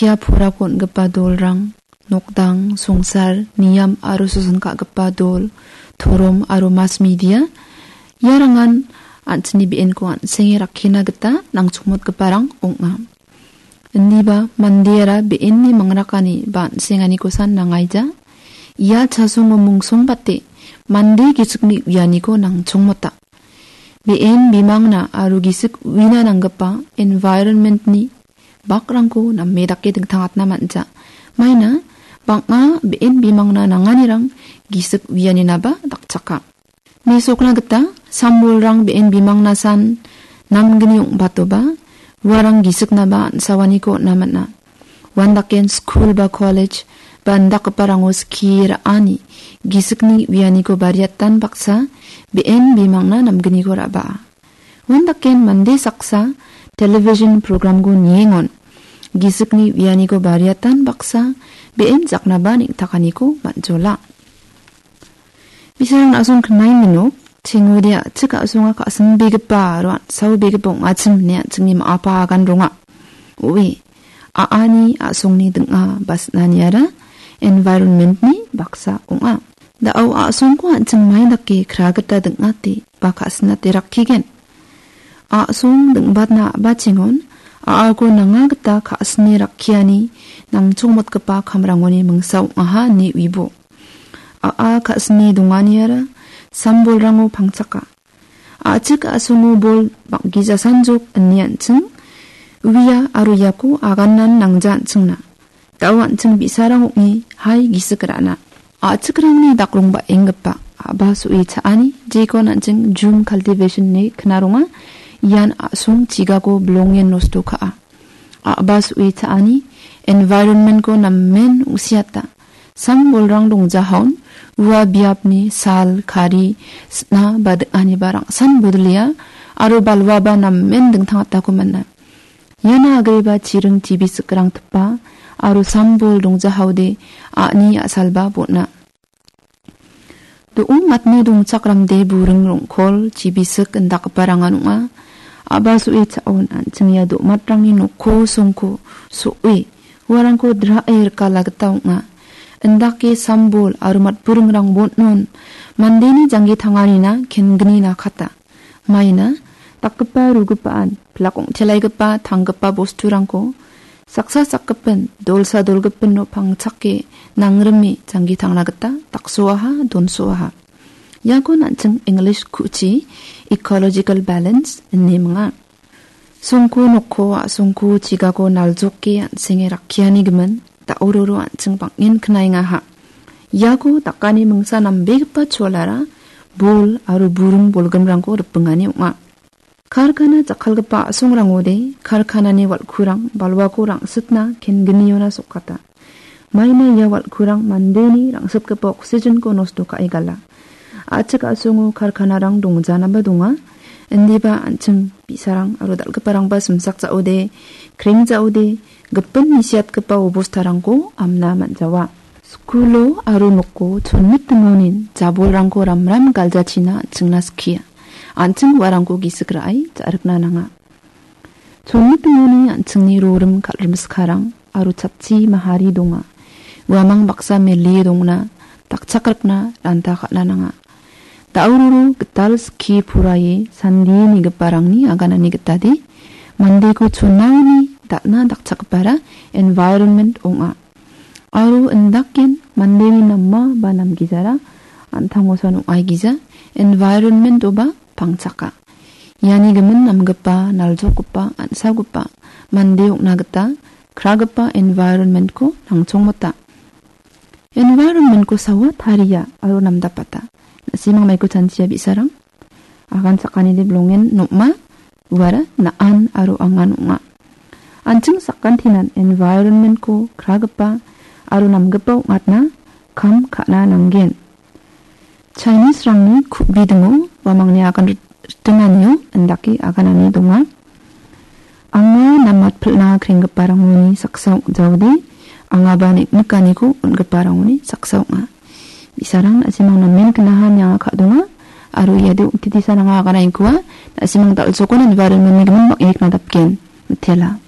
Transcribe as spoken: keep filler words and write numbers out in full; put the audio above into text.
Ia porako on·gipa dolrang, nokdang, songsar, niam aro soson ka·gipa dol, torom aro mas media, iarangan an·chingni be·enko an·senge rakkina gita nangchongmotgiparang ong·a. Indiba mandeara be·enni mangrakani ba an·senganikosan nangaija. Ia chasongo mungsongbate mande gisikni uianiko nangchongmota. Be·en bimangna aro gisik uina nanggipa environment-ni bakrangko name dake dingtangatna man·ja. Maina bang·a be·en bimangna nanganirang gisik uianinaba dakchaka. Mesokna gita sambolrang be·en bimangnasan namgni ong·batoba, uarang gisiknaba an·sawaniko on·a man·a. Uandaken skul ba kolej ba indakgiparango skie ra·ani gisikni uianiko bariatan baksa be·en bimangna namgniko ra·baa. Uandaken mande saksa television programko niengon gisikni uianiko bariatan baksa be·en jaknaba neng·takaniko man·jola. Bisarang a·song knai minok, chengode a·chik a·songa ka·sinbegipa aro an·saobegipa ong·achim ine an·chingni ma·apa agan ronga. Oe, a·ani a·songni ding·a ba sinaniara environment-ni baksa ong·a. Da·o a·songko an·ching mai dake kra gita ding·ate ba ka·sinate rakkigen. A·song ding·batna a·bachengon a·ako nanga gita ka·sine rakkiani nangchongmotgipa kamrangoni mingsa ong·aha ine uibo. A·a ka·sine donganiara sambolrango pangchaka. A·chik a·songo bol bang·gijasanjok ine an·ching uia aro iako aganan nangja an·chingna. Da·o an·ching bi·sarang ong·e hai gisik ra·na. A·chikrangni dakrong ba·enggipa a·ba so·e cha·ani jekon an·ching jum cultivation ine knaronga. Ian a·song chigako bilongen nosto ka·a. A·ba so·e cha·ani environment-ko namen ong·siata. Sambolrang dongjahaon ua biapni sal, kari, sna ba ding·aniba rangsan bodolea aro balwaba namen dingtangatako man·a. Iana agreba chiring chibi sikrang tipa aro sambol dongjahaode a·ni a·salba bon·a. Do·ong matni dongchakramde buring rong·kol chibisik indakgiparangan ong·a. A·ba so·e cha·on an·ching ia do·matrangni nokko songko so·e uarangko dra·e rikala gita ong·a. Indake sambol aro matburingrang bon·on mandeni janggi tanganina kengnina kata. Maina dakgipa rugipaan pilak ong·telaigipa tanggipa bosturangko saksa sakgipin, dolsa dolgipino pangchake nangrime janggi tangna gita daksoaha, donsoaha. Iako an·ching English ku·chi ecological balance ine minga. Songko nokko, a·songko chigako naljoke an·senge rakkiani gimin da·ororo an·ching bang·en knaengaha. Iako dakani mingsa nambegipa cholara bol aro buring bolgrimrangko ripingani ong·a. Karkana jakkalgipa a·songrangode karkanani wal·kurang balwako rangsitna kenggniona sokata. Maina ia wal·kurang mandeni rangsitgipa oksijenko nosto ka·e gala. A·chik a·songo karkanarang dongjanaba donga. Indiba an·ching bi·sarang aro dal·giparangba simsak ja·ode, kreng ja·ode, gipin misiatgipa obostarangko amna man·jawa. Skulo aro noko chonmitingonin jabolrangko ramram galjachina an·chingna skia. An·ching uarangko gisik ra·e ja·rikna nanga. Chonmitingoni an·chingni rorim kal·rimskarang aro chatchi mahari donga. Uamang baksa mele dongna, dakchakrikna ranta ka·na nanga. Da·ororo gital skie poraie sandie nigiparangni aganani gitade mandeko chonaoni dal·na dakchakgipara environment ong·a. Aro indaken mandeni nama ba namgijara an·tangosan ong·aigija environment-oba pangchaka. Iani gimin namgipa, naljokgipa, an·saogipa mande ong·na gita kragipa environment-ko nangchongmota. Environment-ko sawa taria aro namdapata. Na·simang maiko chanchia bi·sarang. Agan sakanide bilongen nom·a, uara na·an aro angan ong·a. An·ching sakantinan environment-ko kragipa aro namgipa ong·atna kam ka·na nanggen. Chinese-rangni ku·bidingo uamangni agan rit-, ritinanio indake aganani donga. Anga namatpilna krenggiparangoni saksa ong·jaode, angaba neng·nikaniko on·giparangoni saksa ong·a. Bi·sarang na·simang namen knaha ine anga ka·donga, aro iade ong·titisan anga agana ingkua, na·simang dal·sokon environment-ni gimin bang·e knadapgen. Mitela.